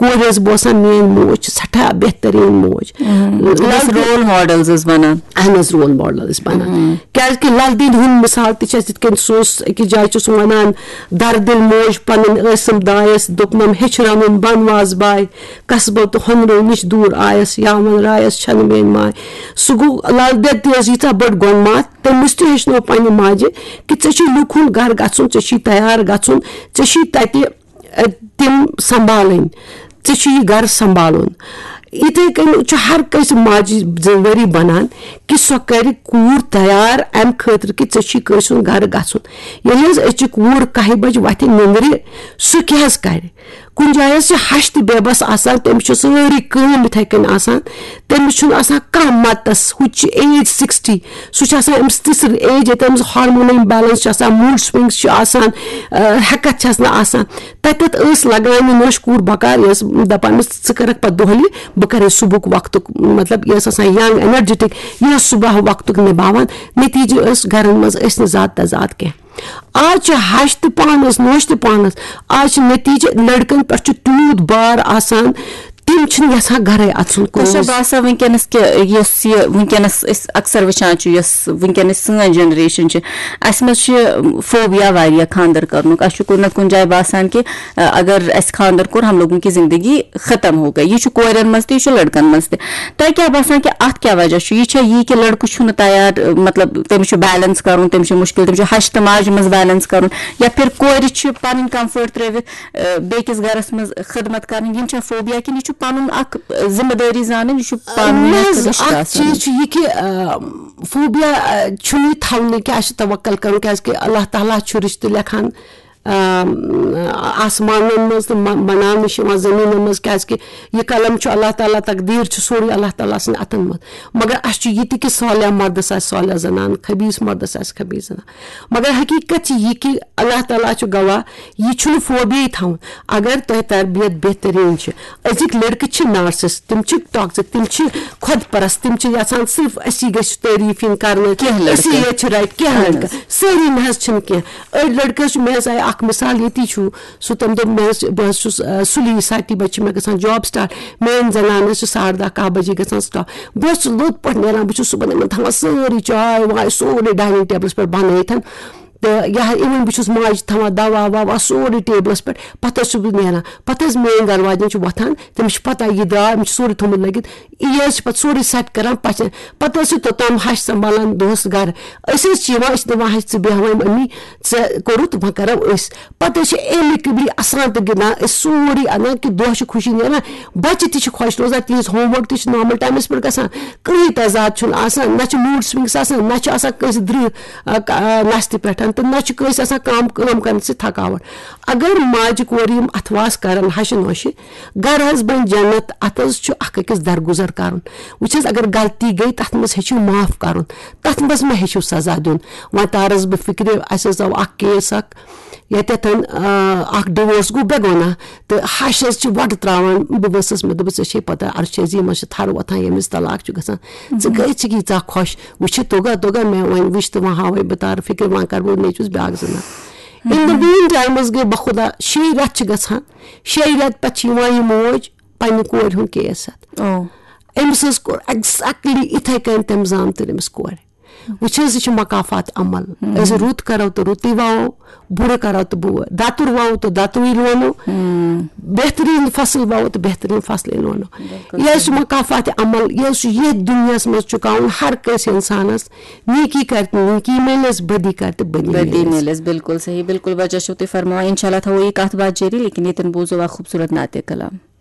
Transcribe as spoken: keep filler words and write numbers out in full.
کورِ ٲسٕس بہٕ وَسان، میٲنۍ موج چھِ سٮ۪ٹھاہ بہتریٖن موج۔ بس رول ماڈلز ٲسۍ بنان۔ اہن حظ، رول ماڈل ٲسۍ بنان۔ کیازِ کہِ لل دید ہُنٛد مثال تہِ چھِ اَسہِ یِتھ کٔنۍ، سُہ اوس أکِس جایہِ چھُ سُہ وَنان، دردِل موج پنٕنۍ ٲسٕم دایَس، دوٚپنم ہیٚچھ رَنُن بَن وازٕ باے، قصبو تہٕ ہۄنرو نِش دوٗر آیَس، یاوَن رایَس چھَنہٕ میٲنۍ ماے۔ سُہ گوٚو، لل دید تہِ ٲس ییٖژاہ بٔڑ گۄنماتھ، تٔمِس تہِ ہیٚچھنٲو پننہِ ماجہِ کہِ ژےٚ چھُے لُکھ ہُنٛد گرٕ گژھُن، ژےٚ چھُے تیار گژھُن، ژےٚ چھُے تَتہِ، ٲ، تِم سنبھالٕنۍ، ژےٚ چھُ یہِ گرٕ سنبھالُن۔ یِتھے کٔنۍ چھُ ہر کٲنٛسہِ ماجہِ ذمہٕ وٲری بنان کہِ سۄ کرِ کوٗر تیار امہِ خٲطرٕ کہِ ژےٚ چھُے کٲنٛسہِ ہُنٛد گرٕ گژھُن۔ ییٚلہِ حظ أزچہِ کوٗر کاہہِ بجہِ وۄتھِ نِندرِ، سُہ کیٛاہ حظ کرِ؟ کُنہِ جایہِ حظ چھِ ہش تہِ بے بس آسان، تٔمِس چھِ سٲرٕے کٲم یِتھے کٔنۍ آسان، تٔمِس چھُنہٕ آسان کانٛہہ متس۔ ہُہ تہِ چھُ ایج سِکِسٹی، سُہ چھُ آسان أمِس تِژھ ایج، ییٚتہِ أمِس ہارمونل امبیلنس چھُ آسان، موڈ سوئنگز چھِ آسان، آ، ہٮ۪کتھ چھس نہٕ آسان۔ تَتٮ۪تھ ٲس لگان یہِ نوش کوٗر بکار، یہِ ٲس دَپان، مےٚ ژٕ کَرَکھ پَتہٕ دۄہلہِ، بہٕ کَرے صُبحُک وقتُک، مطلب، یہِ ٲس آسان ینگ، انرجیٹک، یہِ ٲس صُبح وقتُک نِباوان۔ نتیٖجہٕ ٲس گَرَن منٛز ٲسۍ نہٕ زیادٕ تہٕ زیادٕ کینٛہہ۔ آز چھِ ہَش تہِ پانَس، نوش تہِ پانَس۔ آز چھِ نتیٖجہٕ، لٔڑکَن پٮ۪ٹھ چھُ تیوٗت بار آسان، تِم چھِنہٕ یَژھان گَرَے اَژُن۔ تۄہہِ چھا کٲنٛسہِ۔ باسان وٕنکیٚنَس کہِ یۄس یہِ وٕنکیٚنَس أسۍ اکثر وٕچھان چھِ، یۄس وٕنکیٚنَس سٲنۍ جنریشن چھِ، اَسہِ منٛز چھِ فوبیا واریاہ خانٛدر کرنُک۔ اَسہِ چھُ کُنہِ نتہٕ کُنہِ جایہِ باسان کہِ، اَ، اگر اَسہِ خانٛدر کوٚر، ہم لوگوں کی زندگی ختم ہو گئی۔ یہِ چھُ کورٮ۪ن منٛز تہِ، یہِ چھُ لڑکن منٛز تہِ۔ تۄہہِ کیٛاہ باسان کہِ اَتھ کیٛاہ وجہ چھُ؟ یہِ چھا یی کہِ لڑکہٕ چھُنہٕ تیار، مطلب، تٔمِس چھُ بیلنس کرُن، تٔمِس چھُ مُشکِل، تٔمِس چھُ ہَش تہٕ ماجہِ منٛز بیلنس کرُن، یا پھر کورِ چھِ پنٕنۍ کمفٲرٹ ترٲوِتھ، اَ، بیٚکِس گرس منٛز خدمت کرٕنۍ؟ یِم چھا فوبیا کِنہٕ یہِ چھُ پنُن اکھ، اَ، ذمہٕ دٲری زانٕنۍ، یہِ چھُ پانہٕ نہ حظ، رِشتہٕ اکھ آسان؟ چیٖز چھُ یہِ کہِ، آ، فوبیا، آ، چھُنہٕ یہِ تھاونہٕ کہِ اَسہِ چھُ توکل کرُن، کیازِ کہِ اللہ تعالیٰ چھُ رِشتہٕ لیکھان، آ، آسمانن منٛز تہٕ م-، بناونہٕ چھِ یِوان زٔمیٖنن منٛز، کیازِ کہِ یہِ قلم چھُ اللہ تعالیٰ، تقدیٖر چھُ سورُے اللہ تعالیٰ سٕنٛدِ اَتھن منٛز۔ مگر اَسہِ چھُ یہِ تہِ کہِ صالح مردس آسہِ صالح زنان، خبیٖث مردس آسہِ خبیٖث زنان۔ مگر حقیٖقت چھِ یہِ کہِ اللہ تعالیٰ چھُ گواہ، یہِ چھُنہٕ فوبیاہٕے تھاوُن۔ اگر تۄہہِ تربیت بہتریٖن چھِ، أزِکۍ لڑکہٕ چھِ نارسسٹ، تِم چھِ ٹاکسک، تِم چھِ خۄد پرست، تِم چھِ یژھان صرف أسی گژھِ تعریٖف یِنۍ کرنہٕ، کینٛہہ لڑکہٕ۔ أسی یوت چھِ رایٹ، کینٛہہ اہن لڑکہٕ، حظ۔ سٲری نہ حظ چھِنہٕ کینٛہہ۔ أڑۍ لڑکہٕ حظ چھِ، مےٚ حظ آیہِ اکھ مثال ییٚتی چھُ، سُہ تٔمۍ دوٚپ، مےٚ حظ چھِ، بہٕ حظ چھُس، آ، سُلی ساٹی بجہِ چھِ مےٚ گژھان جاب سٹارٹ، میٲنۍ زنان حظ چھِ ساڑٕ دہ کاہ بجے گژھان سٹاپ۔ بہٕ حظ چھُس لوٚت پٲٹھۍ نیران، بہٕ چھُس صُبحن یِمن تھاوان سٲرٕے چاے واے سورُے ڈایننگ ٹیبلس پٮ۪ٹھ بنٲیِتھ۔ تہٕ یا even بہٕ چھُس ماجہِ تھاوان دوا ووا سورُے ٹیبلَس پٮ۪ٹھ، پَتہٕ حظ چھُس بہٕ نیران۔ پَتہٕ حظ میٛٲنۍ گَرٕ واجٮ۪ن چھِ وۄتھان، تٔمِس چھِ پَتہ یہِ درٛاو، أمِس چھُ سورُے تھوٚمُت لٲگِتھ، یہِ حظ چھِ پَتہٕ سورُے سٮ۪ٹ کَران پَژھٮ۪ن۔ پَتہٕ حظ چھِ توٚتام ہَش سنٛبھالان دۄہَس گَرٕ۔ أسۍ حظ چھِ یِوان، أسۍ چھِ دَپان، ہَش ژٕ بیٚہوان أمی، ژےٚ کوٚرُتھ، وۄنۍ کَرو أسۍ۔ پَتہٕ حظ چھِ amicably اَسان تہٕ گِنٛدان أسۍ سورُے اَنان کہِ دۄہ چھُ خوشی نیران، بَچہِ تہِ چھِ خۄش روزان، تِہِنٛز ہوم ؤرک تہِ چھِ نارمل ٹایمَس پٮ۪ٹھ گژھان، کٕہٕنۍ تضاد چھُنہٕ آسان، نہ چھِ موٗڈ سوِنٛگٕس آسان، نہ چھِ آسان کٲنٛسہِ درٛہ، آ، ک-، آ، نستہِ پٮ۪ٹھ، تہٕ نہ چھِ کٲنٛسہِ آسان کٲم، کٲم کرنہٕ سۭتۍ تھکاوٹ۔ اگر ماجہِ کورِ یِم اتھواس کرن ہشہِ نوشہِ، گرٕ حظ بنہِ جنت، اتھ حظ چھُ اکھ أکِس درگُزر کرُن۔ وٕچھ حظ، اگر غلطی گٔے، تتھ منٛز ہیٚچھِو معاف کرُن، تتھ منٛز مہ ہیٚچھِو سزا دیُن۔ وۄنۍ تارس بہٕ فکرِ، اسہِ حظ آو اکھ کیس اکھ، ییٚتٮ۪تھ، آ، اکھ ڈِوورس گوٚو بے گۄناہ، تہٕ ہش حظ چھِ وۄٹہٕ تراوان۔ بہٕ ؤژھٕس، مےٚ دوٚپُس، ژےٚ چھے پتہ، عرض چھِ عظیٖمس چھِ تھر وۄتھان، ییٚمِس طلاق چھُ گژھان۔ ژٕ کۭژ چھِکھ ییٖژاہ خۄش؟ وٕچھِتھ توٚگا، توٚگا مےٚ وۄنۍ وٕچھ تہٕ وۄنۍ ہاوے بہٕ تارٕ فِکرِ، وۄنۍ کرٕ بہٕ نیٚچوِس بیٛاکھ زِنا۔ In the mean time گٔے بخدا شیٚیہِ رٮ۪تھ چھِ گژھان، شیٚیہِ رٮ۪تہٕ پتہٕ چھِ یِوان یہِ موج پننہِ کورِ ہُنٛد کیس ہٮ۪تھ۔ او۔ أمِس حظ کوٚر exactly یِتھے کٔنۍ تٔمۍ زامتٕرۍ أمِس کورِ۔ وٕچھ حظ، یہِ چھُ مکافات عمل۔ أسۍ رُت کرو تہٕ رُتُے وَوو، بُرٕ کرو تہٕ بُرٕ، دَتُر وَوو تہٕ دَتُرٕے لونو، بہتریٖن فصل وَوو تہٕ بہتریٖن فصلٕے لونو۔ یہِ حظ چھُ مکافات عمل، یہِ حظ چھُ ییٚتھۍ دُنیاہَس منٛز چُکاوُن ہر کٲنٛسہِ اِنسانَس۔ نیکی کرِ تہٕ نیکی میلٮ۪س، بدی کرِ تہٕ بدی بدی میلٮ۪س۔ میلٮ۪س، بِلکُل صحیح، بِلکُل بَچَس چھِو تُہۍ فرماوان۔ اِنشاء اللہ تھاوو یہِ کَتھ باتھ جٲری، لیکِن ییٚتٮ۪ن بوزو اَکھ خوٗبصوٗرت نعتِ کلام۔